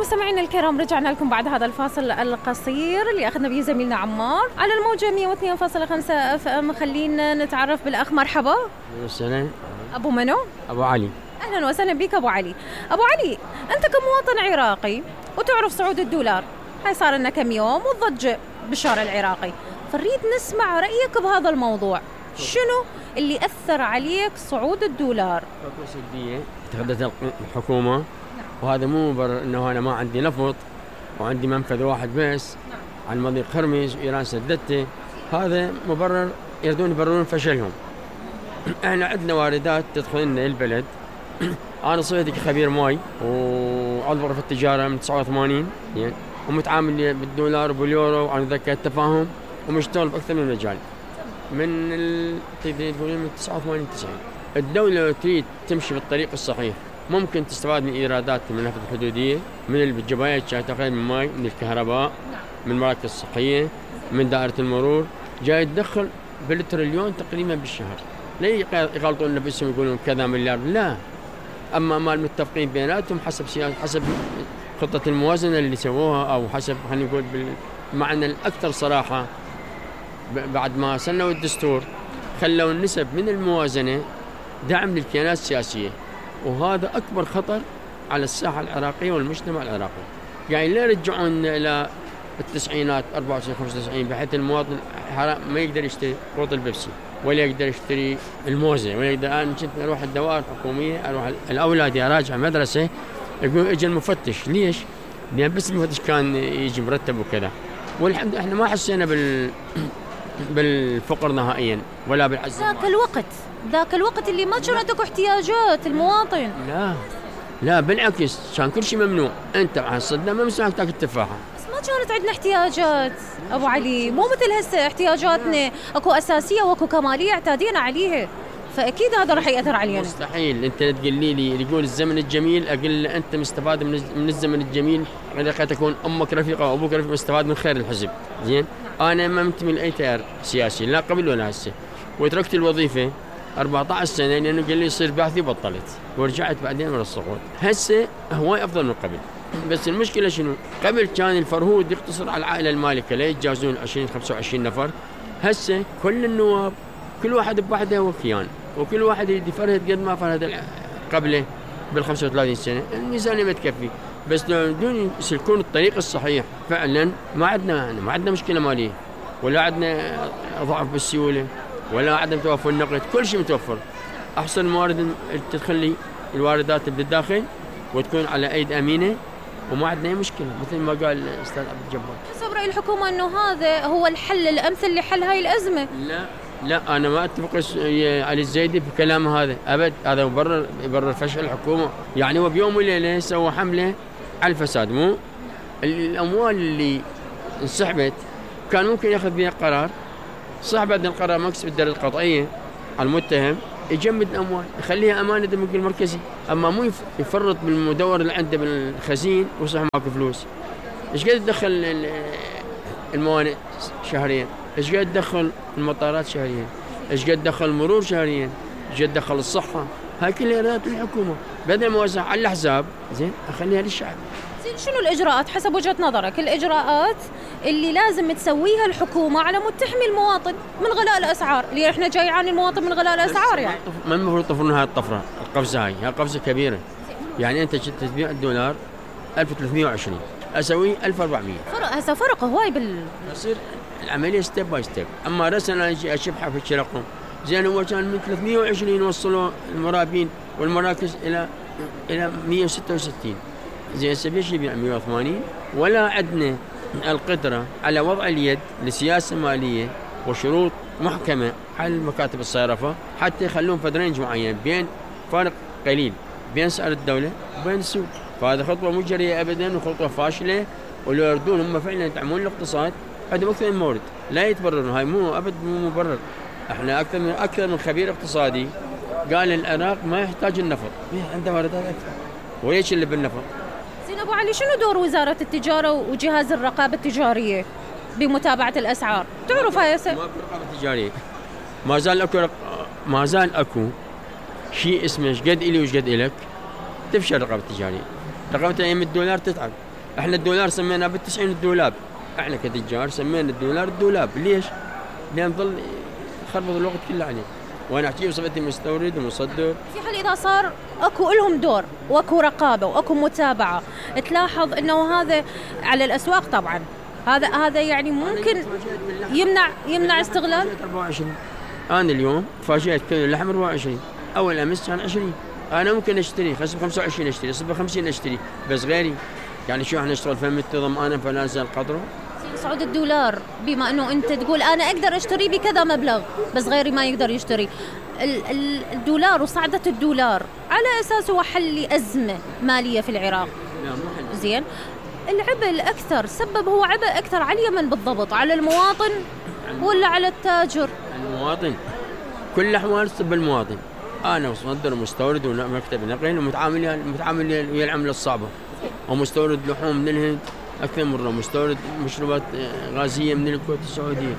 مستمعينا الكرام، رجعنا لكم بعد هذا الفاصل القصير اللي أخذنا به زميلنا عمار على الموجة 102.5 اف ام. خلينا نتعرف بالأخ. مرحبا. السلام. أبو منو؟ أبو علي. أهلا وسهلا بك أبو علي. أبو علي، أنت كمواطن عراقي وتعرف صعود الدولار، هاي صار لنا كم يوم والضجة بالشارع العراقي، فنريد نسمع رأيك بهذا الموضوع. شنو اللي أثر عليك صعود الدولار؟ خطوة سلبية اتخذتها الحكومة، وهذا مو مبرر انه انا ما عندي نفط وعندي منفذ واحد بس عن مضيق هرمز وايران سدته. هذا مبرر يريدون يبررون فشلهم. احنا عندنا واردات تدخل لنا البلد. انا صرت خبير ماي وعضو غرفة التجارة من 89 يعني، ومتعامل بالدولار وباليورو وعن ذكاء التفاهم ومشتغل باكثر من مجال من 89 90. الدولة تريد تمشي بالطريق الصحيح، ممكن تستفاد من ايرادات من النفط الحدودية، من الجبايات اللي تاخذ من الماء، من الكهرباء، من المراكز الصحية، من دائرة المرور، جاي تدخل بالتريليون تقريبا بالشهر. ليه يغلطون نفسهم يقولون كذا مليار؟ لا، اما مال متفقين بيناتهم حسب سياسة، حسب خطة الموازنة اللي سووها، او حسب خلينا نقول بالمعنى الاكثر صراحة. بعد ما سنوا الدستور خلوا النسب من الموازنة دعم للكيانات السياسية، وهذا أكبر خطر على الساحة العراقية والمجتمع العراقي. يعني لا يرجعون إلى التسعينات 94 95 بحيث المواطن ما يقدر يشتري قوط البيبسي ولا يقدر يشتري الموزة ولا يقدر. أنا كنت أروح الدوائر الحكومية، أروح الأولاد أراجع مدرسة، يقول إجا المفتش. ليش؟ لأن بس المفتش كان يجي مرتب وكذا. والحمد إحنا ما حسينا بالفقر نهائيا ولا بالعجز. ذاك الوقت اللي ما كانت اكو احتياجات المواطن. لا بالعكس، كان كل شيء ممنوع. انت مع الصدام ما مسموح تاكل تفاحه. بس ما كانت عندنا احتياجات ابو علي، مو مثل هسه احتياجاتنا اكو اساسيه واكو كماليه اعتادينا عليها، فاكيد هذا راح ياثر علينا. مستحيل انت تقولي لي يقول الزمن الجميل، اقول له انت مستفاد من الزمن الجميل، قد تكون امك رفيقه او ابوك رفيق مستفاد من خير الحزب. زين، انا ما منتمي لاي تيار سياسي، لا قبل ولا هسه، وتركت الوظيفه 14 سنه لانه قال لي يصير بعثي وبطلت، ورجعت بعدين ورا السقوط. هسه هواي افضل من قبل، بس المشكله شنو؟ قبل كان الفرهود يقتصر على العائله المالكه، لا يتجاوزون 20 25 نفر. هسه كل النواب كل واحد بوحده وكيان، وكل واحد يفرهد قد ما فرهد قبله بال 35 سنه. الميزانيه ما تكفي، بس لو بدون يسلكون الطريق الصحيح فعلا ما عندنا مشكله ماليه، ولا عندنا ضعف بالسيوله، ولا عدم توفر النقد. كل شيء متوفر. احسن موارد تدخل لي الواردات بالداخل وتكون على ايد امينه، وما عندنا اي مشكله مثل ما قال الاستاذ عبد الجبار. حسب راي الحكومه انه هذا هو الحل الامثل لحل هاي الازمه. لا انا ما اتفق علي الزيدي بكلامه هذا ابد. هذا يبرر فشل الحكومه. يعني هو بيوم وليله سوى حمله على الفساد. مو الاموال اللي انسحبت كان ممكن ياخذ بها قرار صح، بعد القرار مكسب الدرجه القضائيه على المتهم يجمد الاموال يخليها امانه البنك المركزي، اما مو يفرط بالمدور اللي عنده بالخزين وصح ماكو فلوس. ايش قد تدخل الموانئ شهريا؟ ايش قد تدخل المطارات شهريا؟ ايش قد تدخل المرور شهريا؟ ايش قد تدخل الصحه؟ هاي كلها ايرادات الحكومه، بدل ما اوزع على الحساب زين اخليها للشعب. زين، شنو الاجراءات حسب وجهه نظرك، الاجراءات اللي لازم تسويها الحكومه على مود تحمي المواطن من غلاء الاسعار، اللي احنا جاي يعاني المواطن من غلاء الاسعار؟ يعني ما المفروض يطفرون هاي الطفره، القفزه هاي قفزه كبيره. يعني انت تبيع الدولار 1320 اسوي 1400، هسه فرق هواي يصير العمليه ستيب باي ستيب. اما رسنا اجي اشبحها في الشرقم زين، هو كان من 320 وصلوا المرابين والمراكز الى 166 زين. سبيش يبيع 180. ولا عندنا القدره على وضع اليد لسياسه ماليه وشروط محكمه على مكاتب الصرافه حتى يخلون فدرينج معين بين فارق قليل بين سعر الدوله وبين السوق. فهذا خطوه مو جريئه ابدا وخطوه فاشله. ولو يردون هم فعلا يدعمون الاقتصاد عندهم اكثر من مورد، لا يتبررون. هاي مو مبرر. احنا اكثر من خبير اقتصادي قال العراق ما يحتاج النفط، عنده واردات اكثر. وليش اللي بالنفط؟ زين ابو علي، شنو دور وزاره التجاره وجهاز الرقابه التجاريه بمتابعه الاسعار؟ تعرف هاي ما رقابه تجاريه، ما زال اكو شيء اسمه ايش قد الي وش قد الك. تفشل الرقابه التجاريه. رقابه ايام الدولار تتعب، احنا الدولار سميناه بال90 الدولاب، احنا كتجار سمينا الدولار الدولاب. ليش؟ لان ظل خربط الوقت كله عليه، وانا احكي بصفتي مستورد ومصدر. في حال اذا صار اكو لهم دور واكو رقابه واكو متابعه، تلاحظ انه هذا على الاسواق طبعا، هذا يعني ممكن يمنع استغلال. 24 انا اليوم تفاجئت كيلو اللحم 24، اول امس كان 20. انا ممكن اشتري خلص ب 25 اشتري، صب ب 50 اشتري، بس غيري يعني شو احنا نشتغل فم ضمانه فلا نزل قدره. صعود الدولار، بما انه انت تقول انا اقدر اشتري بكذا مبلغ بس غيري ما يقدر يشتري، الدولار وصعدة الدولار على اساس هو حل ازمه ماليه في العراق. لا مو حل. زين، العبء الاكثر سبب هو عبء اكثر على اليمن بالضبط، على المواطن ولا على التاجر؟ المواطن، كل الاحوال تصب المواطن. انا مصدر ومستورد ومكتب نقل ومتعامل ويا العمله الصعبه، ومستورد لحوم من الهند اكثر مره، مستورد مشروبات غازيه من الكويت السعوديه.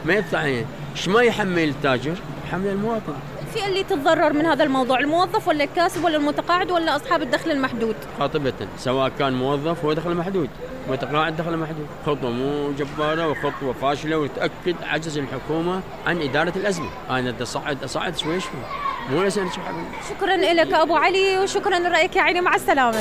ما يدفع عليه، ايش ما يحمل التاجر؟ يحمل المواطن. في اللي تتضرر من هذا الموضوع، الموظف ولا الكاسب ولا المتقاعد ولا اصحاب الدخل المحدود؟ قاطبة، سواء كان موظف هو دخل محدود، متقاعد دخل محدود. خطوه مو جباره وخطوه فاشله، وتاكد عجز الحكومه عن اداره الازمه. انا بدي اصعد شوي شوي، مو لسه. شكرا لك ابو علي، وشكرا لرايك يا عيني، مع السلامه.